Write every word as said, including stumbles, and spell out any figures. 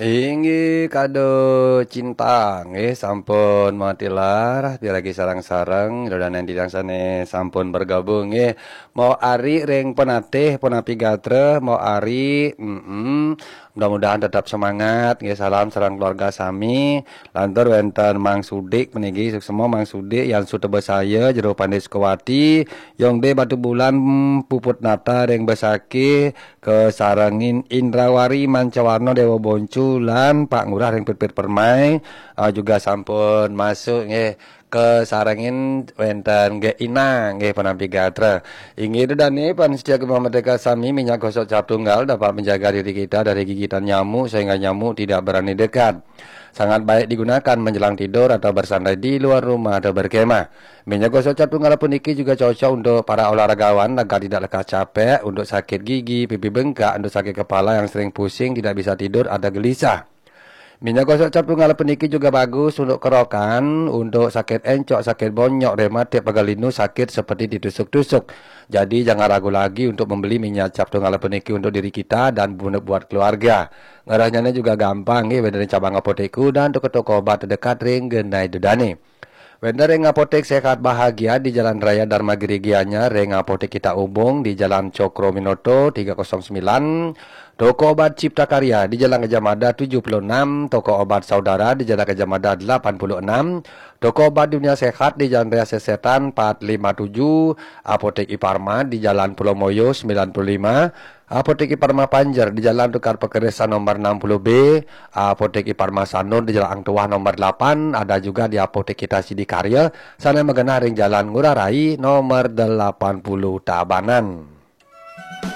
Inggih kado cinta nggih, sampun matilar piragi sareng-sareng, ida dané titiang sané sampun bergabung nggih. Mau ari ring penatih punapi gatra, mau ari, mm, mudah-mudahan tetap semangat nggih. Salam sareng keluarga sami. Lantur wénten Mang Sudik puniki, suksma Mang Sudik, Yan Sutebasaya, Jero Pandé Sukawati, Yongde Batubulan, Puput Nata ring Besakih, kasarengin Indrawari Mancawarna Déwa Boncu lan Pak Ngurah ring Pit-Pit Permai, ah, juga sampun masuk nggih, kasarengin wénten Gék Ina nggih, penampi gatra. Inggih ida dané pamiarsa Gema Merdeka sami, minyak gosok cap tunggal dapat menjaga diri kita dari gigitan nyamuk sehingga nyamuk tidak berani dekat. Sangat baik digunakan menjelang tidur atau bersantai di luar rumah atau berkemah. Minyak gosok cap tunggal puniki juga cocok untuk para olahragawan agar tidak lekas capek, untuk sakit gigi, pipi bengkak, untuk sakit kepala yang sering pusing, tidak bisa tidur, ada gelisah. Minyak gosok cap tunggal puniki juga bagus untuk kerokan, untuk sakit encok, sakit bonyok, rematik, pegal linu, sakit seperti ditusuk-tusuk. Jadi jangan ragu lagi untuk membeli minyak cap tunggal puniki untuk diri kita dan bu-, buat keluarga. Ngerahnyané juga gampang nggih, wénten ring cabang apotek dan toko-toko obat terdekat ring genah ida dané. Wénten ring Apotek Sehat Bahagia di Jalan Raya Dharma Giri Gianyar, ring Apotek Kita Ubung di Jalan Cokroaminoto tiga kosong sembilan, toko obat Cipta Karya di Jalan Gajah Mada tujuh puluh enam, toko obat Saudara di Jalan Gajah Mada delapan puluh enam, toko obat Dunia Sehat di Jalan Raya Sesetan empat lima tujuh, Apotek Iparma di Jalan Pulau Moyo sembilan puluh lima, Apotek Iparma Panjer di Jalan Tukad Pakerisan nomor enam puluh B, Apotek Iparma Sanur di Jalan Hang Tuah nomor delapan, ada juga di Apotek Kita Sidakarya, sané magenah ring Jalan Ngurah Rai nomor delapan puluh Tabanan.